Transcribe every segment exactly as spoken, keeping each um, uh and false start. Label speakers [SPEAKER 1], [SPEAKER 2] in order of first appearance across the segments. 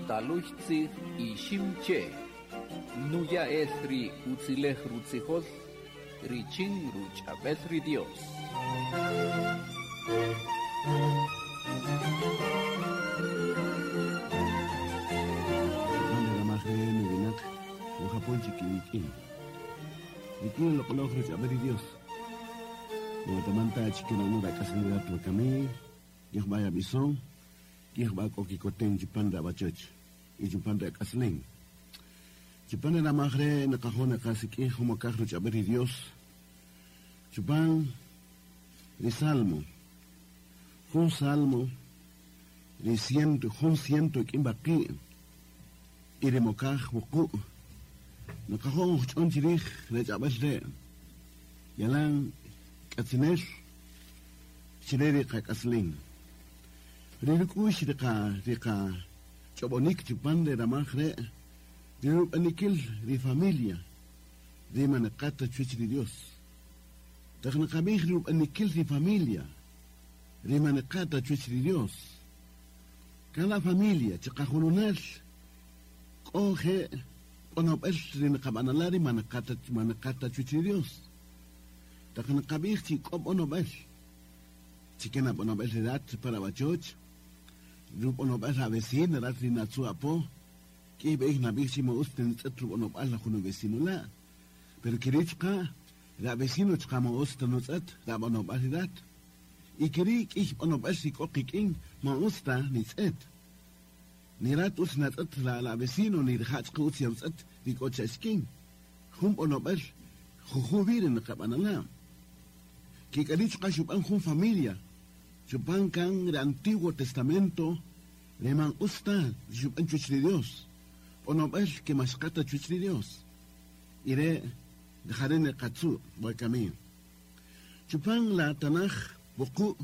[SPEAKER 1] Taluy tzij Iximche, nuya el ri utzilej rutzijol, richin ruch'abel ri Dios.
[SPEAKER 2] Rikin loqloj ruch'abel ri Dios. Notamanta chikinanu rak'aslirat wakami, yejba yabison, yejba kokikoten chupan rabachoch, y chupan rak'aslin. Chupan ramajre naqajón naqasik'ij jumokaj ruch'abel ri Dios. Chupan ri Salmo. Jun Salmo ri ciento, jun ciento ik'in baqi' y ri mokaj wuqu'. Naqajón ch'on chirij rech'abel re. Yalan k'atzinel chire ri qak'aslin. Ri ruk'ux ri qa ri qa ch'ob'onik chupan re ramaj re ri rub'anikil ri familia ri manaqata chuwach ri Dios. Taq naqab'ij ri rub'anikil ri familia ri manaqata chuwach ri Dios. Cada familia chiqajununal k'oje k'onob'el ri naqab'anala ri manaqata manaqata chuwach ri Dios. Taq naqab'ij chi k'ob onob'el chikena b'onob'el ri rat para wachoch rub'onob'el a vecina rat ri natzu apo k'ij b'ej nab'ij chi ma'us tenitz'et rub'onob'al la jun vecino la pero kiri chqa ra vecino chqa ma'us tenotz'et ra b'onob'al ri rat y kiri k'ij b'onob'el ri k'o qik'in ma'us ta nitz'et ni rat utz natz'et la la vecino ni rija' chqa utz yawtz'et ri k'o cha'xkin jun b'onob'el juju biri naqab'anala Kik'ari chqa xub'an jun familia chupan kan el Antiguo Testamento le man usta xub'an chuwach ri Dios b'onob'el ke maxqata chuwach ri Dios ire jare neqatzu wakami chupan la Tanaj wuqu'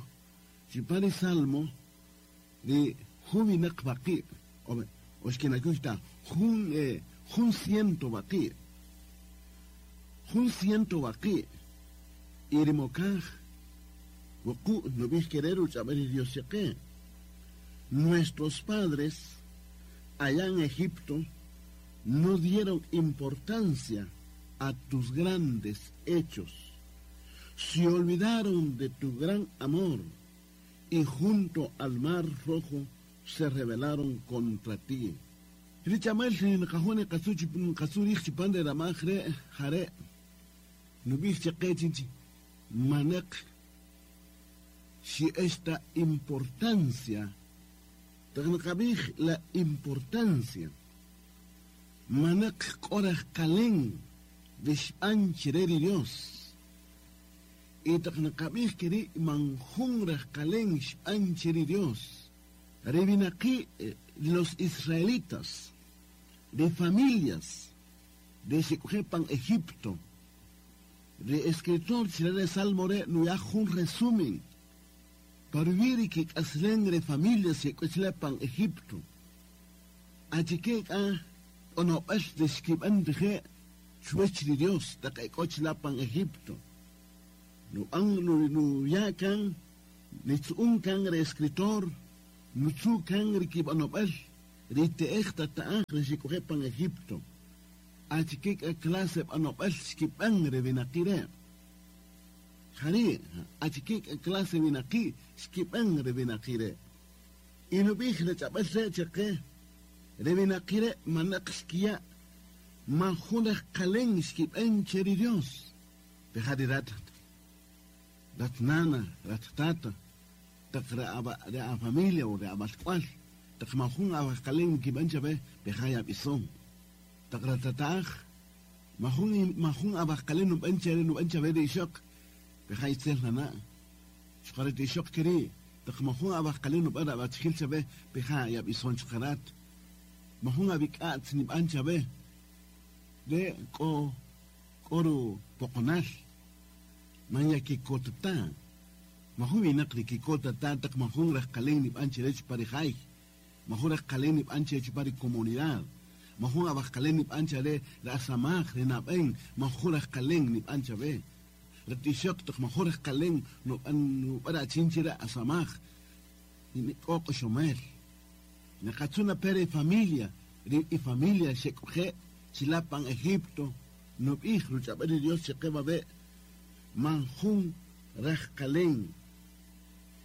[SPEAKER 2] chupan ri Salmo ri juwinaq baqi' oxkinakuyta jun eh, jun ciento baqi' jun ciento baqi' Irimokaj, wuqu' nub'ij querer uch'ab'el ri Dios cheqe. Nuestros padres allá en Egipto no dieron importancia a tus grandes hechos. Se olvidaron de tu gran amor y junto al mar rojo se rebelaron contra ti. Richamel nqajone qasuchi nqasurij chupan de ramaj re jare nub'ij cheqe chinchi manek si esta importancia taqnaqab'ij la importancia manek k'oraj qalen rixb'an chire ri Dios y taqnaqab'ij kiri man jun raj qalen xb'an chire Dios Rebinaqi los israelitas de familias de Xikujepan Egipto de escritor chile Salmo re nuya jun resumen parviri que k'aslen re familias xikuchlepan Egipto achike k'a onob'el de xkib'an rije' chuwach ri Dios taq ek'ochlapan Egipto nu an nu nuya kan nitzu'un kan re escritor nutzu kan ri kib'anob'el ri te'ej tata'aj re xikujepan Egipto achike k'a clase b'anob'el xkib'an re winaqi re jari achike k'a clase winaqi xkib'an re winaqi re y nub'ij re ch'ab'el re cheqe re winaqi re manaq xkiya' man jun rajqalen xkib'an che ri Dios pejari rat rat nana rat tata taq re a familia o re abalk'wal taq man jun awajqalen kib'an chabe pejaya b'ison taq ratataj majun majun abajqalen nub'an chere nub'an chabe ri ixoq pejay itzel nana' xqaret ixoq kiri taq majun abajqalen nub'an abachjil chabe peja yab'ison chqarat majun ab'ik'atz nib'an chabe de k'o k'oru poqonal man yakikotata majun winaq ri kikotata taq majun rajqalen nib'an cherech parijay majun rajqalen nib'an cherech pari comunidad majun abajqalen nib'an chare ra samaj re nab'en majun rajqalen nib'an chabe Ratishok taq majun rajqalen nub'an nub'ara chin chira asamaj k'o q'oxomel Nakatsuna pere familia, ri y familia xekuje chilapan Egipto, nub'ij ruch'ab'el Dios cheqebabe manjun rajkalen.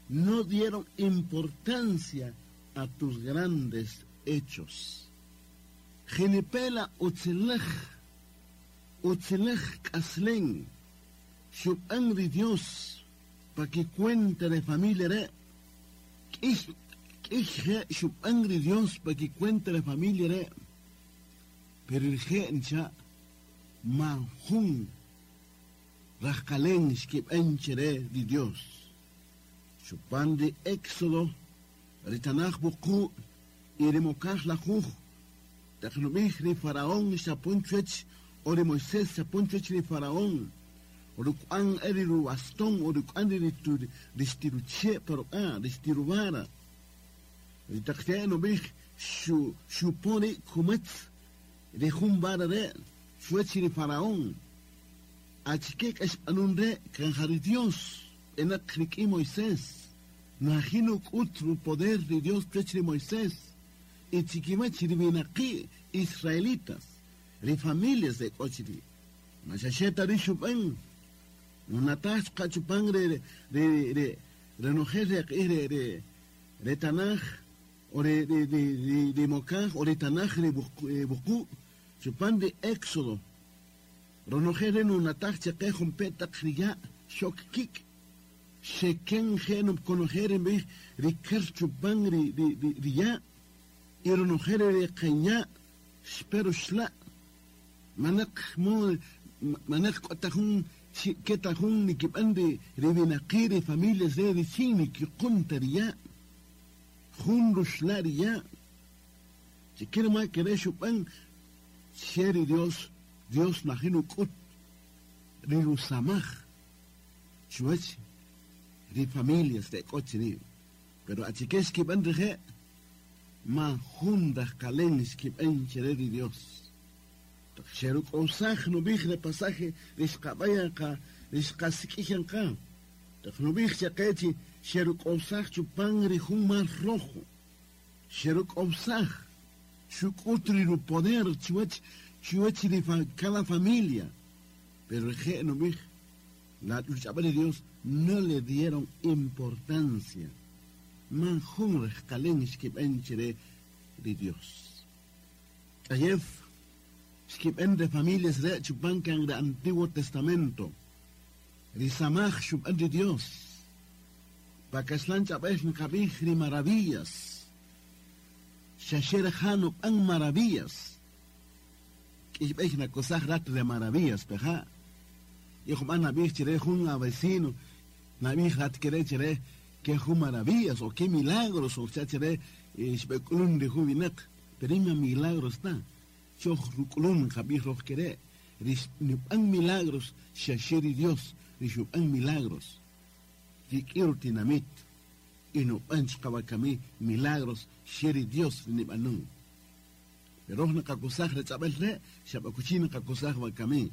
[SPEAKER 2] No dieron importancia a tus grandes hechos. Genipela utzelej, utzelej kaslen, xub'an ri Dios, pa que cuenta de familia re, k'ij k'ij xub'an ri Dios pa que cuenta de familia re, pero el ncha manjun rajkalen xkib'an chere di Dios. Chupan de Éxodo, ritanaj buku, y remokaj la juj, taqnubij ri faraón xapun chuech, o ri Moisés xapun chuech ri faraón, o rukuan eri ru bastón, o rukuan ri ristiruche, pero ah, ristirubara. Ritaqte nubij shu shuponi kumetz, rijumbara re, chuech ri faraón. Achikek espanun re, kanjari Dios. Enak Moisés, najino utru poder de Dios de Moisés, y chiquimachi vinaqui israelitas, ri familias de cochiri, machacheta rishupan, unatas cachupan re re re renojer re re re tanaj, o re re re re mocaj, o re tanaj re buku, chupan de Éxodo, renojer en unataj chequejun petak riya, shok kik. Sheken genum conojeren bih rikar chupan ri ri ri ya ironojere ri kenya spero shla manak mo manak kotajun ketajun nikipan ri ri binaqiri familias de richini ki quntaria jun rushla ria chikirma kere chupan sheri Dios Dios najinu kut ri rusamaj chuech de familias de coche, pero achiques que van reje ma jundas calenes que van chere de Dios. Xeruk osaj no bij de pasaje riscabayanka riscasiquijanka. No bij chaquechi xeruk osaj chupan rijun mar rojo. Xeruk osaj chukutri no poder chuech chuech de cada familia. Pero je no bij la lucha de Dios no le dieron importancia. Manjun rejkalen xkib'en de Dios. Ayer xkib'en de familias de chupancan de Antiguo Testamento. Risamaj xub'en de Dios. Pakaslan chab'ej nkab'ij ri maravillas. Xaxer jano pan maravillas. K'ixb'ej nakosaj rat de maravillas, peja. Y jub'an nab'ij chire jun a vecino. Nab'ij rat kere chire que ju maravillas o qué milagros o chachere xb'ekulun de jubinak. Pero ima milagros ta. Choj rukulun jab'ij roj kere. Nib'an milagros xaxeri Dios. Rixub'an milagros. Yik'ir tinamit. Y nub'an xqabakami milagros xeri Dios nib'anun. Pero naqakusaj rech'ab'el re xab'akuchi naqakusaj wakami.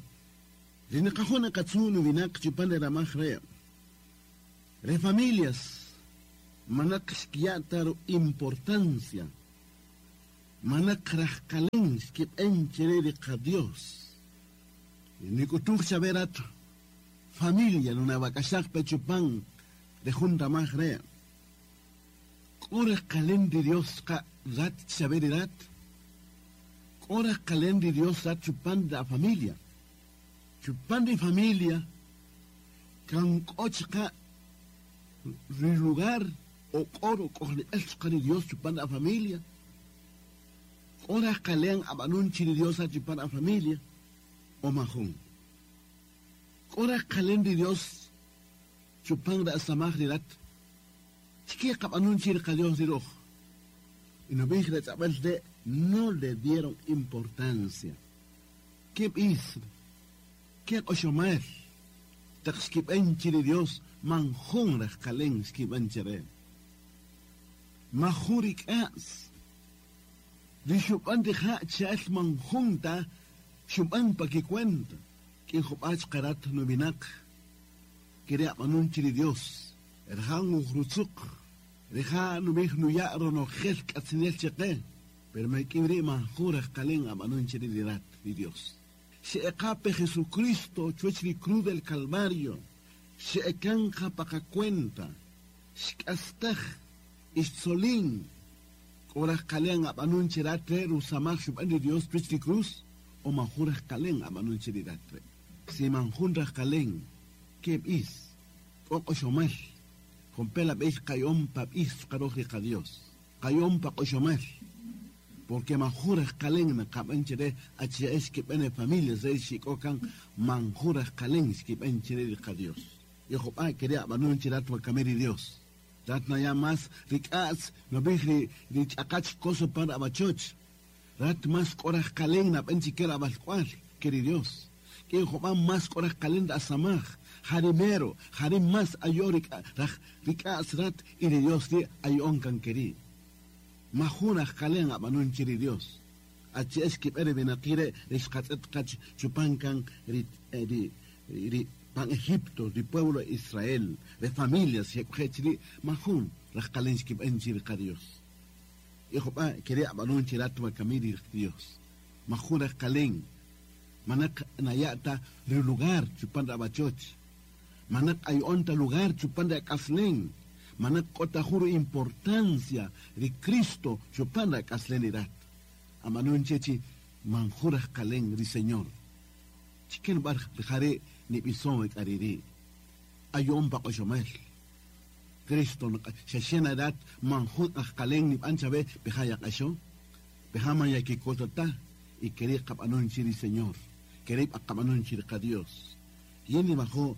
[SPEAKER 2] Rinaqajuna katsunu vinak chupan de ramaj re. Re familias, manak xkiataro importancia. Manak rajkalen xkib'en chere de Dios. Nikutuj chaberat familia nunabakashaj pechupan de junta maj re. K'ore kalen de Dios ka rat chaberirat. K'ore kalen de Dios rat chupan de familia. Chupan de familia, kan kochka lugar o coro con el Dios chupan la familia. Ora kalean abanunchi de Dios a chupan la familia o majón. Ora kalen de Dios chupan la samaj de rat. Chiqui abanunchi de Dios de rojo. Y no de no le dieron importancia. ¿Qué hizo? ¿Qué oshomar? Taxkibenchi de Dios, manjón rajkalen skibenchere. Majurik as. Rishupan de ha chal manjunta, shupan pa que cuenta. Que jopach karat novinak. Quería manunchi de Dios. Erhan ujrutzuk. Rija nubij nuya ronojel k'atzinel cheqe, pero me kibri manjura kalen abanun cheridirat di Dios. Se ecape Jesucristo chuech ri cruz del Calvario, se ekanja paca cuenta, xkastaj ixtzolin, koraj kalen abanun cheratre rusamaj shuban di Dios chuech ri cruz, o manjura kalen abanun cheridatre. Si manjura kalen, que is, oqoshomel, con pela beis kayom pap is karoj ri Dios, kayom pa qoshomel. Porque manjura kalen na kabanchere H S que bene familias de shikokan manjura kalen que benchere de Dios. Y jopa quería abanun chirat wakameri Dios. Rat na ya más rikats no bijri richakach koso para abachoch. Rat más koraj kalen na benchikera abalcual queri Dios. Que jopa más koraj kalen da samaj. Jarimero, jarim más ayorik rikats rat y de Dios di ayon kan queri. Majuna kalen abanun chiri Dios. H S que pere benakire rishkatzet kach chupankan ri ri ri pan Egipto, di pueblo Israel, de familias yekuchri majun rajkalen skip enchiri ka Dios. Hijo pa quería abanun chirat wakamiri Dios. Majuna kalen manak nayata ri lugar chupan abachoch. Manak ayonta lugar chupan de kaslen. Manak kota juro importancia de Cristo chupanda kaslenirat. Amanun chechi manjura kalen ri Señor. Chicken bar jare ni bison kariri. Ayon pa koshomel. Cristo sheshena dat manjut kalen ni anchabe behaya kasho. Behama ya ki kotata y querer kap anun chiri Señor. Querer kap anun chiri ka Dios. Yeni bajo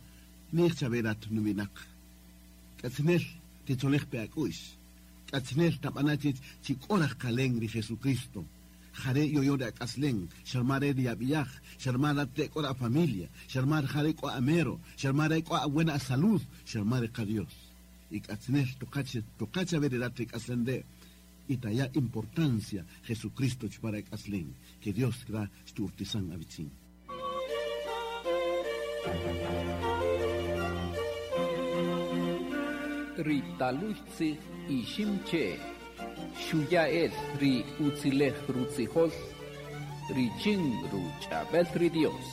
[SPEAKER 2] ni chaberat nubinak. Katzinel titolej peakush. Katzinel tapanachit chikoraj kalen ri Jesucristo. Jare yoyo de akaslen, sharmare de abiyaj, sharmare te kora familia, sharmare jare ko amero, sharmare ko buena salud, sharmare ka Dios. Y katzinel tocache, tocache veredate kaslen de itaya importancia Jesucristo chupara kaslen, que Dios gra sturtisan abitzin.
[SPEAKER 1] Ritaluchtzi Iximche, Xuyael ri Utzilej Rutzijol, Richin Ruchabel ri Dios.